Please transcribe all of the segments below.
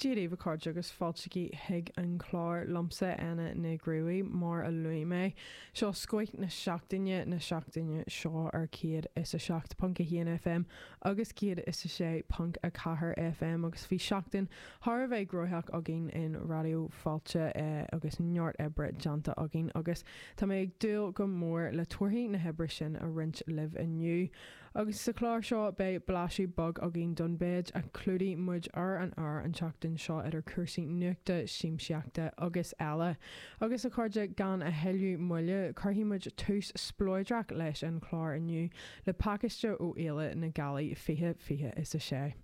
Dia daoibh a chairde agus fáilte chuig an chlár liomsa Éanna Ní Ghruaidh mar a luaigh mé. Seo scoith na seachtaine na seachtaine seo ar 107.1 FM agus 106.4 FM agus bhí seachtain thar a bheith gnóthach againn in Raidió Fáilte agus neart oibre déanta againn agus tá mé ag dúil go mór le torthaí na hoibre sin a roinnt libh inniu. Agus sa chlár seo beidh blaiseadh beag againn don mhéid a chlúdaigh muid ar an aer an tseachtain seo idir cúrsaí nuachta, siamsaíochta agus eile. Agus a chairde, gan a thuilleadh moille, cuirfidh muid tús spleodrach leis an chlár inniu le pacáiste ó Fhéile na Gealaí 2026.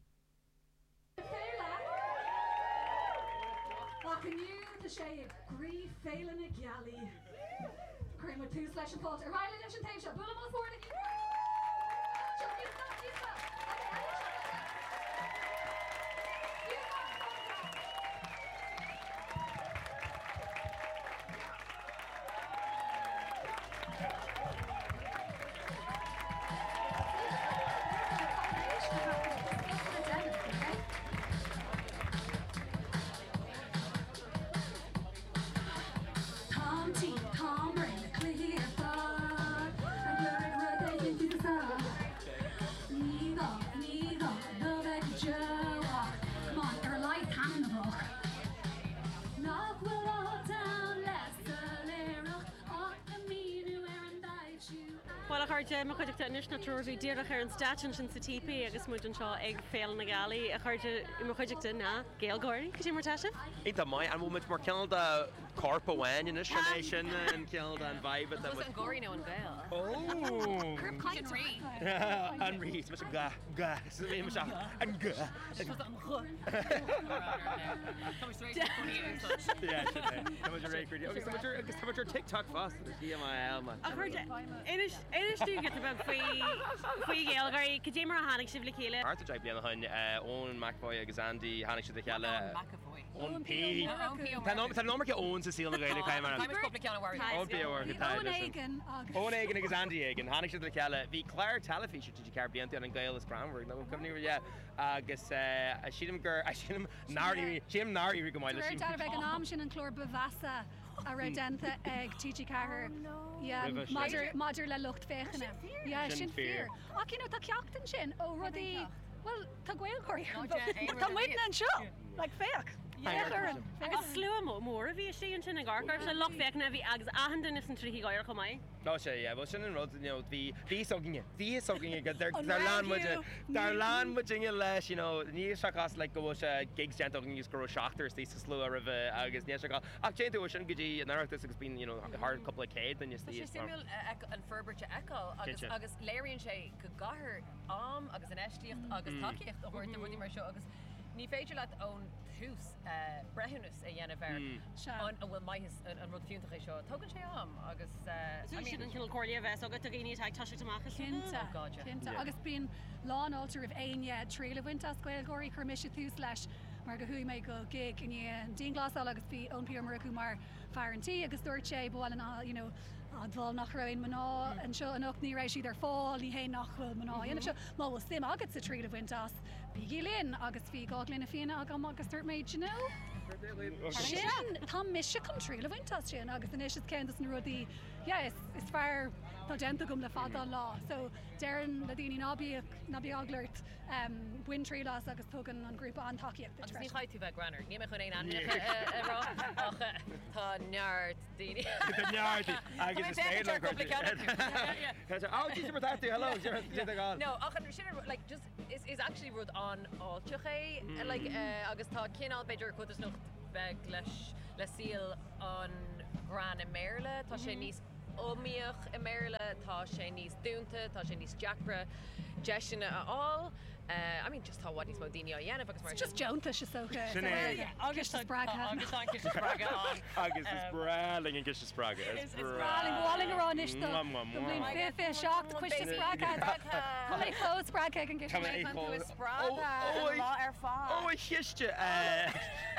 Féile! Ach inniu tá sé i gcroí Féile na Gealaí. Cuirfidh muid tús leis an fáilte. Ar aghaidh linn leis an taobh seo. Bualadh bos mór le Seo, níos mó, níos mó. Ok, eile seo, eile. Táim tinn, táim réidh na cluichí ar fad Ag lorg rud éigin fiúsach Ní gá, ní gá dó bheith go deo Ach come on, ar a laghad taitneamhach Nach bhfuil áit ann le soiléireacht Ach le míniú ar an dtaibhsiú Bhuel, a chairde, mo chuideachta anois ná triúr a bhí díreach ar an stáitse ansin sa Típí agus muid anseo ag Féile na Gealaí. A chairde, i mo chuideachta ná GaelGáirí. Cad é mar tá sibh? Iontach maith. An bhfuil muid mar cineál de corp amháin anois? An é sin an cineál de an vibe atá muid? An gáirí nó an Gael? Ó! Corp cainte. An rí. Is mise ga, ga. Is mise an ga. Is mise an gh. Agus tá muid ar TikTok fosta, TMIL man. A chairde, inis dúinn giota beag faoi faoi GaelGáirí, cad é mar a tháinig sibh le chéile? Thart ar 10 bliana ó shin, Eoin McEvoy agus Andy, tháinig siad le chéile. McEvoy. Eoin P. Tá an iomarca Eoin sa saol na Gaeilge, caithfidh mé a rá. Tá cúpla ceann a mharaigh. Eoin P. Ó Murchú, tá Eoin éigin agus. Eoin éigin agus Andy éigin. Tháinig siad le chéile. Bhí clár teilifíse TG4 blianta ann, An Gael is Greannmhar, nó cuimhní, yeah. Agus sílim gur, sílim nár éirigh, sílim nár éirigh go maith leis. De réir dealraimh ag an am sin an clár ba mheasa a raibh déanta ag TG4 yeah, maidir, maidir le lucht féachana. Yeah, sin fíor. Ach you know, tá ceacht ansin ó rudaí, bhuel, tá GaelGáirí ar an bhfód. Tá muidne anseo! Like, féach! Féach orainn! Agus slua mór a bhí istigh ansin ag amharc air, lucht féachana a bhí agus achan duine sna tríochaidí ag gáire chomh maith. Tá sé, yeah, bhuel sin an rud, you know, bhí, bhí fhios againne, bhí fhios againne go, dar, dar lean muid, dar lean muidinne leis, you know, níl sé cás like go bhfuil sé gigs déanta againn agus go raibh seachtar istigh sa slua roimhe agus níl sé cás, ach téann tú ó sin go dtí an Oireachtas agus bíonn, you know, thar cúpla céad duine Tá istigh sé is mar. suimiúil a an forbairt a fheiceáil agus, Cinnte. agus léiríonn sé go gcaithfear am agus infheistíocht agus tacaíocht a thabhairt do rudaí mar seo agus ní féidir leat ón tús breithiúnas a dhéanamh air an bhfuil maitheas, an rud fiúntach é seo. Tógann sé am agus I mean. Sin an cineál comhairle a bheas agat do dhaoine atá ag toiseacht amach is Cinnte, Oh God, yeah. cinnte. Agus bíonn lánfháilte roimh éinne triail a bhaint as GaelGáirí. Chuir mise tús leis mar go chuaigh mé go gig i ndiaidh an dianghlasáil agus bhí Eoin P Ó Murchú mar fear an tí agus dúirt sé ba mhaith linn you know admháil nach raibh aon mná anseo anocht, ní raibh siad ar fáil, ní hé nach bhfuil mná á dhéanamh seo, má bhfuil suim agatsa triail a bhaint as, bígí linn! Agus bhí 2 ghloine fíona agam agus dúirt mé, do you know, sin, tá mise chun triail a bhaint as sin agus anois is ceann dos na rudaí, yeah, is, is fearr atá déanta agam le fada an lá. So déarfainn le daoine ná bíodh, ná bíodh eagla ort, bain triail as agus tugann an grúpa an-tacaíocht duit Agus ní freisin. chaithfidh tú bheith greannmhar, níl mé chun aon ainmneacha a rá ach tá neart daoine. Tá neart agus is féidir le cúpla ceann acu. Oh, Jesus, mar tá tú, hello, sin é No, ach an sin like just is is actually rud an-fháilteach é like agus tá cineál b'fhéidir codarsnacht beag leis le saol an ghreann i mBéarla, tá sé níos iomaíoch i mBéarla, tá sé níos dúnta, tá sé níos deacra deiseanna a fháil. I mean just tá i bhfad níos mó daoine á dhéanamh agus mar sin. Just deontais is dócha. Sin é. Agus ciste spreagtha. Agus tá an ciste spreagtha ann. Agus is breá linn an ciste spreagtha. Is breá linn. Ba mhaith linn a rá anois do don bhliain 2027 coiste spreagtha. Tá mé chomh spreagtha ag an gciste. Tá mé chomh spreagtha an lá ar fad. Ó a chiste!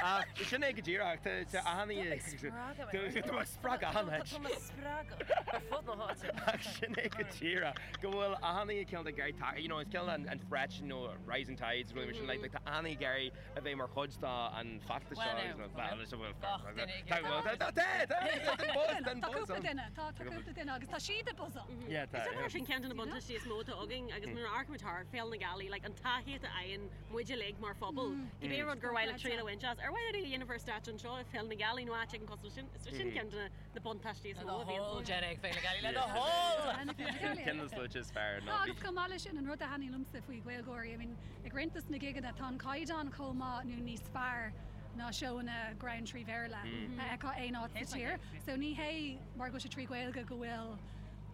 Ach sin é go díreach. Tá achan oíche. Tá mé spreagtha achan áit. Tá mé spreagtha ar fud na háite. Ach sin é go díreach. Go bhfuil achan oíche cineál de ag iarraidh you know, is cineál an threat you know. know, rising tides, rudaí mar sin, like, tá an-daoine ag iarraidh a bheith mar chuid de an feachtas seo agus Well now, bhuel, gach duine ag iarraidh. Tá, tá, tá, tá buzz, tá Tá cúpla duine, tá, tá cúpla duine agus tá siad ag buzzáil. Yeah, tá. Is dócha sin ceann de na buntáistí is mó atá againn agus nuair a amharcaimid thar Féile na Gealaí, like, an tacaíocht a fhaigheann muid uilig mar phobal, cibé rud gur mhaith leat triail a bhaint as, ar mhaith leat é a dhéanamh ar stáitse anseo i Féile na Gealaí nó áit éigin cosúil leis sin, is sin ceann de na buntáistí is mó a bhíonn. Le do thoil, déan é ag Féile na Gealaí, le do thoil! Ceann de na sluaite is fearr ná Agus chomh maith leis sin, an rud a thaitníonn liomsa faoi Ghaelgáirí, I mean, ag roinnt dos na gigeanna, tá an caighdeán chomh maith nó níos fearr ná seóanna greann trí Bhéarla a fheicfeá aon áit sa tír. So ní hé mar go bhfuil sé trí Ghaeilge go bhfuil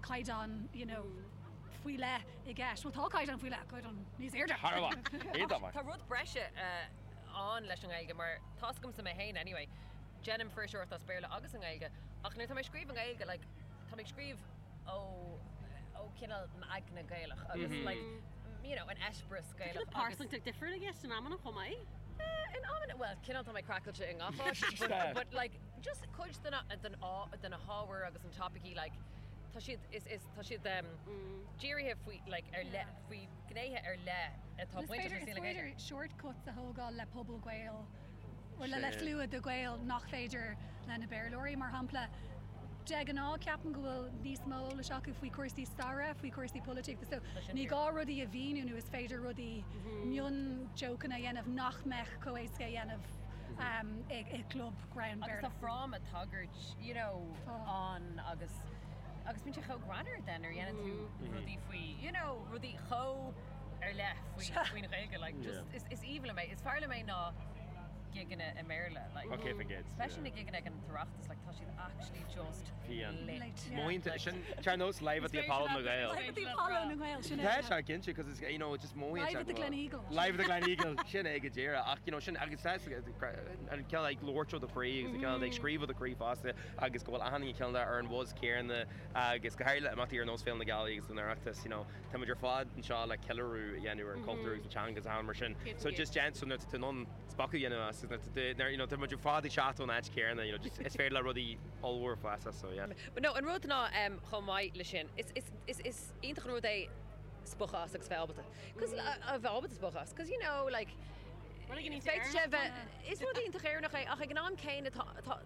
caighdeán, you know, faoi leith i gceist. Bhuel tá caighdeán faoi leith, caighdeán níos airde. Thar a bheith. Iontach maith. Tá rud breise ann leis an nGaeilge mar tá's agamsa mé féin anyway, déanaim fuirseoireacht as Béarla agus i nGaeilge ach nuair atá mé ag scríobh i nGaeilge like tá mé ag scríobh ó ó cineál m'aigne Gaelach agus like you know an eispéireas Gaelach agus. Pearsantacht difriúil i gceist in amanna chomh maith. In amanna, bhuel cineál tá mé craiceáilte i ngach áit but but like just cuid de na den de na hábhair agus an topaicí like tá siad is is tá siad dírithe faoi like ar leith faoi gnéithe ar leith atá bainteach le saol na Gaeilge. Is féidir shortcuts a thógáil le pobal Gael nó le slua de Ghaeil nach féidir le na Béarlóirí. Mar shampla, de ghnáth ceapaim go bhfuil níos mó eolais acu faoi chúrsaí staire, faoi chúrsaí polaitíochta so ní gá rudaí a mhíniú nó is féidir rudaí mion-jokeanna a dhéanamh nach mbeadh chomh éasca a dhéanamh i gclub greann Agus Béarla. tá fráma tagairt you know ann agus agus bíonn sé chomh greannmhar then nuair a dhéanann tú rudaí faoi you know rudaí chomh ar leith faoi faoin Ghaeilge like just is is aoibhinn liom é is fearr liom é ná gigeanna i mBéarla like Okay, forget especially na gigeanna ag an tOireachtas like tá siad actually just lit. Mothaíonn sin ar nós Live at the Apollo na Gael. Live at the Apollo na nGael sin é. Tá sé cinnte cos it's you know just mothaíonn Live at the Gleneagle. Live at the Gleneagle sin é go díreach ach you know sin agus tá an cineál like labhairt ó do chroí agus an cineál like scríobh ó do chroí fosta agus go bhfuil achan duine cineál ar an bhuzz céanna agus go háirithe le imeachtaí ar nós Féile na Gealaí agus an Oireachtas you know táimid ar fad anseo le ceiliúradh a dhéanamh ar an cultúr agus an teanga agus achan mar sin. So just déan so nuair atá tú in ann spochadh a dhéanamh as nuair atá tú nuair you know tá muid ar fad ag teacht ón áit chéanna you know just is féidir le rudaí ollmhór fás as so yeah. But no an rud ná em chomh maith le sin is is is is iontach an rud é spochadh as agus bheith ábalta cos a bheith ábalta spochadh as cos you know like féadfaidh sé bheith is rud iontach Éireannach é ach ag an am céanna tá tá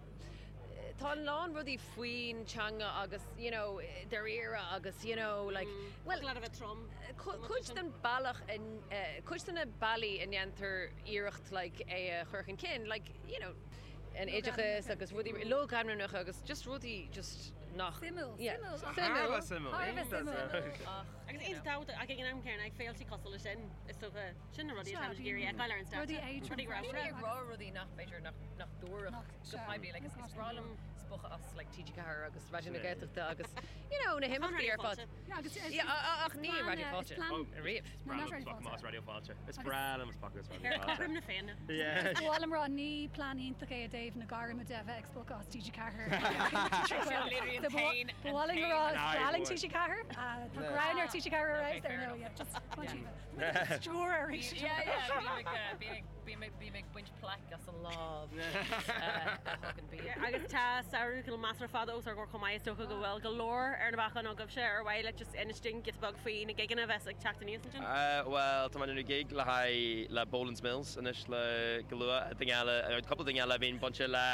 tá a lán rudaí faoin teanga agus you know dáiríre agus you know like bhuel a bheith trom cuid den bealach cuid de na bealaí a ndéantar iarracht like é a chur chun cinn like you know an oideachas agus rudaí logainmneacha agus just rudaí just nach suimiúil suimiúil suimiúil agus aon dabht ach ag an am céanna ag féilte cosúil leis sin is dócha Sin na rudaí atá muid ag iarraidh a fheiceáil ar an stáitse. Rudaí éadrom. Rudaí Daoine ag rá rudaí nach b'fhéidir nach nach dtabharfadh go poiblí like is is breá liom spochadh as like TG4 agus Raidió na Gaeltachta agus you know na himeachtaí ar fad. Yeah, agus is Yeah, ach ní Raidió Fáilte. Riamh. Is breá liom spochadh as Raidió Fáilte. Is breá liom spochadh as Raidió Ar Fáilte. cothrom na Féinne. Yeah. Ba mhaith liom rá ní plean iontach é i dtaobh na gairme de bheith ag spochadh as TG4. Literally Ba mhaith liom rá is breá linn TG4. Tá greann ar TG4 ar fheabhas ar ndóigh. Yeah, just Stiúir arís. Yeah, yeah, bím ag baint plaic as an lámh a thugann bia. Agus tá samhradh cineál measartha fada os ár gcomhair chomh maith, is dócha go bhfuil go leor ar na bacáin agaibhse ar mhaith leat just inis dúinn giota beag faoi na gigeanna a bheas ag teacht aníos ansin? Bhuel, tá mé ag déanamh gig le haghaidh le Boland's Mills anois le go luath. Duine eile, cúpla duine eile a bhíonn bainte le,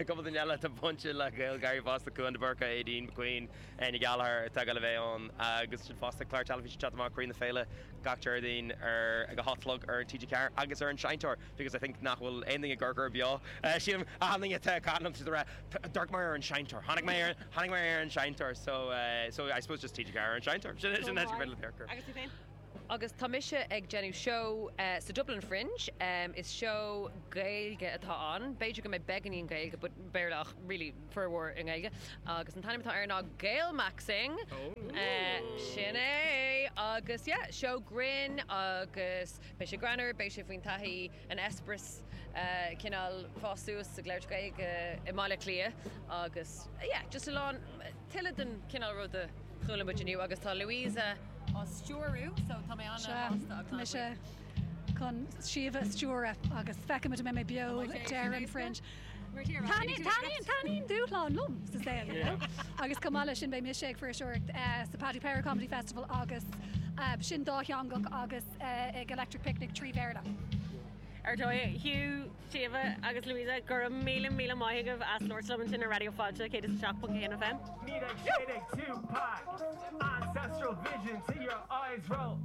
cúpla duine eile atá bainte le GaelGáirí fosta, Cúán de Búrca, Aideen McQueen, Áine Gallagher atá ag dul a bheith ann agus ansin fosta clár teilifíse ag teacht amach Croí na Féile gach Déardaoin ar ag a 8 a chlog ar TG4 agus ar an Seinnteoir because I think nach bhfuil aon duine ag amharc air beo. Sílim achan duine atá ag caint liom siad ag rá D'amharc mé ar an Seinnteoir, tháinig mé ar tháinig mé ar an Seinnteoir so so I suppose just TG4 ar an Seinnteoir. Sin sin an áit gur féidir leat amharc air. Agus tú féin? Agus tá mise ag déanamh seó sa Dublin Fringe. Is seó Gaeilge atá ann. B'fhéidir go mbeidh beagáinín Gaeilge but Béarla ach really formhór i nGaeilge. Agus an t-ainm atá air ná Gaelmaxxing. Sin é! Agus yeah, seó grinn agus beidh sé greannmhar, beidh sé faoin taithí, an eispéireas cineál fás suas ag labhairt Gaeilge i mBaile Átha Cliath agus yeah, just a lán, tuilleadh den chineál rud a chuala muid inniu agus tá Louisa á stiúrú so tá mé Sea, an-sásta agus tá mise an-bhuíoch. chun Síomha a stiúradh agus feicfimid an mbeidh mé beo ag deireadh an Fringe. Taitníonn dúshlán liom sa saol, you know. Agus chomh maith leis sin beidh mise ag fuirseoireacht sa Paddy Power Comedy Festival agus Sin dátheangach agus ag Electric Picnic 3 Bhéarla. Ar dóigh, Hugh, Síomha agus Louisa, go raibh míle míle maith agaibh as labhairt liom ansin ar Raidió Fáilte 107.1 FM. 1916 Tupac Ancestral vision till your eyes roll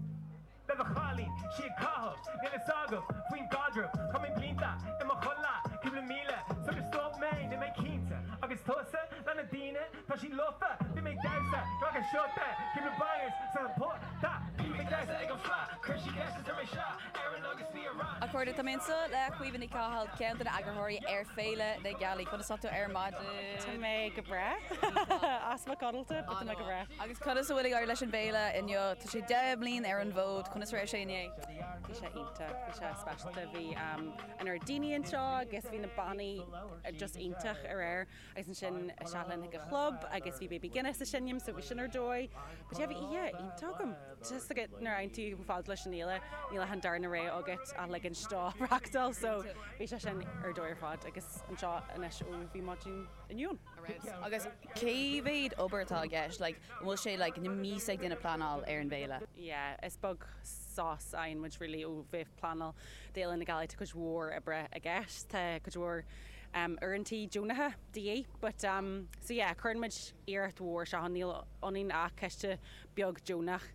Le do chailín, sí ag caitheamh, níl fhios agam faoin gcaidreamh Chaith mé blianta i mo chodladh, cúpla míle sular stop mé, níl mé cinnte Agus tusa, le na daoine, tá siad lofa Bhí mé ag damhsa, glacadh shota, cúpla bangers sa pota Bhí mé ag damhsa ag an fleadh, chuir sí ceist is ar mé sea Éireann agus bhí a rath. A chairde, tá mé anseo le Caoimhe Ní Chathail, ceann de na eagarthóirí ar Féile na Gealaí. Conas tá tú ar maidin? Tá mé go breá. Easpa codlata, but tá mé go breá. Agus conas a bhfuil ag éirí leis an bhféile inniu? Tá sé 10 mbliain ar an bhfód, conas a raibh sé inné? Bhí sé iontach, bhí sé speisialta. Bhí an oiread daoine anseo agus bhí na bannaí just iontach aréir. Agus ansin isteach linn chuig an chlub agus bhí Baby Guinness ag seinm so bhí sin ar dóigh. But yeah, bhí oíche iontach agam. Just like nuair a fhaigheann tú chomh fada leis an fhéile, níl ach an darna rogha agat ach ligint dó reachtáil so bhí sé sin ar dóigh ar fad agus anseo anois ó bhí maidin inniu ann. Agus cé mhéad obair atá i gceist? Like, an bhfuil sé like na míosa ag déanamh pleanáil ar an bhféile? Yeah, is beag sos a fhaigheann muid really ó bheith ag pleanáil d'Fhéile na Gealaí. Tá cuid mhór oibre i gceist, tá cuid mhór uaireantaí deonacha de dhíth but so yeah cuireann muid iarracht mhór isteach ann, níl ionainn ach coiste beag deonach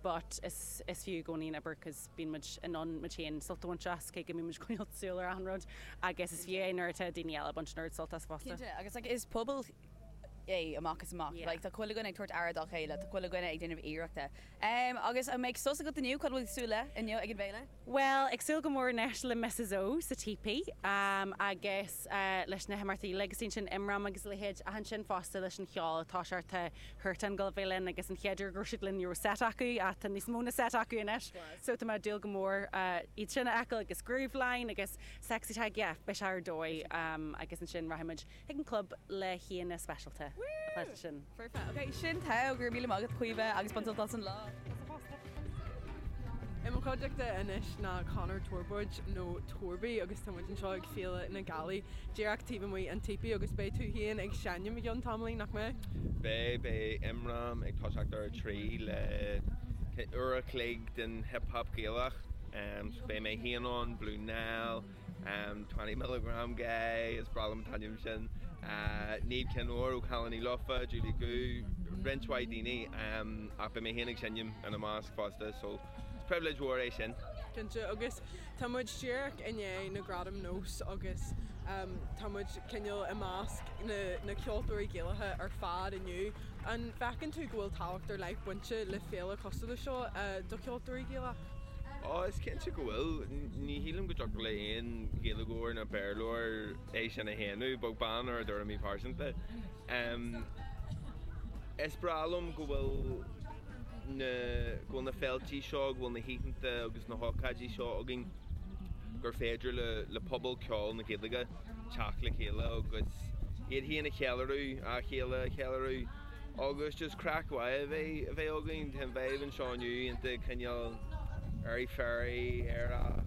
but is is fiú i gcónaí an obair cos bíonn muid in ann muid féin sult a bhaint as cé go mbíonn muid ag coinneáil súil ar achan rud agus is fiú é nuair atá daoine eile ag baint an oiread sult as fosta. Cinnte, agus like is pobal é amach is amach. Yeah. Like tá chuile dhuine ag tabhairt aire dá chéile, tá chuile dhuine ag déanamh iarrachta. Agus an mbeidh sos agat inniu? Cad a bhfuil tú ag súil le inniu ag an bhféile? Bhuel, ag súil go mór anois le Mrs O sa Teepee agus leis na himeachtaí eile agus ansin Imram agus a leithéid ach ansin fosta leis an cheol atá sé tá Huartan ag dul a bheith linn agus an chéad uair go raibh siad linn ní raibh set acu ach tá níos mó ná set acu anois so tá mé ag dúil go mór iad sin a fheiceáil agus Grooveline agus Sexy Tag yeah beidh sé ar dóigh agus ansin rachaidh muid chuig an club le haíonna speisialta ansin. Foirfe. Ok, sin togha, go raibh míle maith agat Caoimhe agus bain sult as an lá. I mo chuideachta anois ná Conor Torbóid nó Torby agus tá muid anseo ag Féile na Gealaí díreach taobh amuigh an Teepee agus beidh tú féin ag seinm i gceann tamaillín, nach mbeidh? Beidh, beidh Imram ag toiseacht ar a 3 le uair a chloig den hip hop Gaelach. So beidh mé féin ann, Blue Nile, 20 Milligram Guy, is breá liom an t-ainm sin, Niamh Chinn Óir ó Cailíní Lofa, Julie Goo, roinnt mhaith daoine ach beidh mé féin ag seinm ina measc fosta so is pribhléid mhór é sin. Cinnte, agus tá muid díreach i ndiaidh na Gradaim Nós agus tá muid cineál i measc na ceoltóirí Gaelacha ar fad inniu. An bhfeiceann tú go bhfuil tábhacht ar leith bainte le féile cosúil le seo do cheoltóirí Gaelach? Ó, is cinnte go bhfuil. Ní shílim go dtiocfadh le aon Ghaeilgeoir ná Béarlóir é sin a shéanadh, beag beann ar a dtuairimí pearsanta. Is breá liom go bhfuil na, go bhfuil na féiltí seo, go bhfuil na hoícheanta agus na hócáidí seo againn gur féidir le, le pobal ceoil na Gaeilge teacht le chéile agus iad féin a cheiliúradh, a chéile a cheiliúradh. Agus just craic mhaith a bheith a bheith againn. Tá an vibe anseo inniu iontach cineál airy fairy, aerach,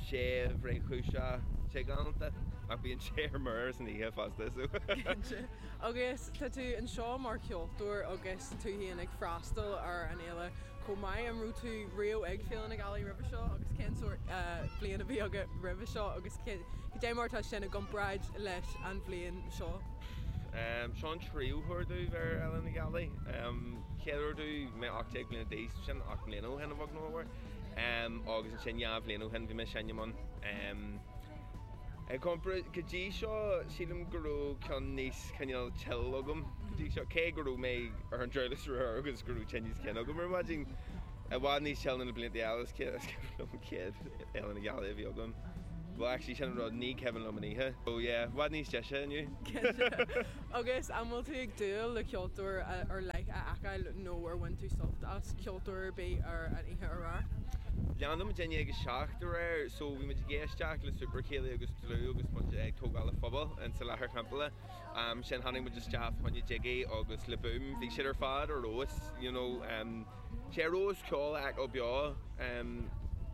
séimh, réchúiseach, sé galánta. Ach bíonn sé ar mire san oíche fosta so. Cinnte. Agus tá tú anseo mar cheoltóir agus tú féin ag freastal ar an fhéile chomh maith. An raibh tú riamh ag Féile na Gealaí roimhe seo agus cén sórt bliain a bhí agat roimhe seo agus cad é mar atá sin i gcomparáid leis an bhliain seo? Seo an tríú huair domh bheith ar Fhéile na Gealaí. Chéad uair domh, mé 18 bliana d'aois, sin 8 mbliana ó shin a bheag nó a mhór. Agus ansin 2 bhliain ó shin bhí mé ag seinm ann. I gcomparáid, go dtí seo, sílim go raibh ceann níos cineál chill agam go dtí seo, cé go raibh mé ar an druilis aréir agus go raibh tinneas cinn agam ar maidin. I bhfad níos chill ná na blianta eile, is cuimhin liom an chéad Fhéile na Gealaí a bhí agam. Well actually sin an rud, ní cuimhin liom an oíche. So yeah, i bhfad níos deise inniu. Cinnte. Agus an bhfuil tú ag dúil le ceoltóir ar leith a fheiceáil nó ar bhain tú sult as ceoltóir ar bith ar an oíche aréir? Leandáil muid i ndiaidh a 7 aréir so bhí muid ag éisteacht le Super Céilí agus Dlúth agus muid ag tógáil an phubaill insa Láthair Champála. Ansin tháinig muid isteach fá choinne Jiggy agus Le Boom. Bhí siad ar fad ar fheabhas, you know. Sé ar fheabhas ceol a fheiceáil beo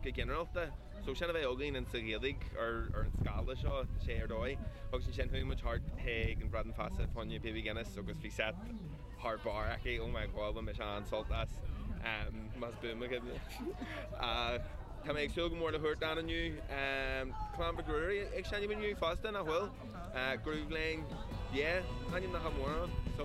go ginearálta. So sin a bheith againn insa Ghaeilge ar an scála seo, tá sé ar dóigh. Agus ansin chuaigh muid thart chuig an Bradán Feasa fá choinne Baby Guinness agus bhí set thar barr aici, oh my god, bhain mise an-sult as. Más buan mo chuimhne. Tá mé ag súil go mór le Huartan inniu. Clann Mhic Ruairí ag seinm inniu fosta, nach bhfuil? Grooveline, yeah, ainmneacha móra ann. So.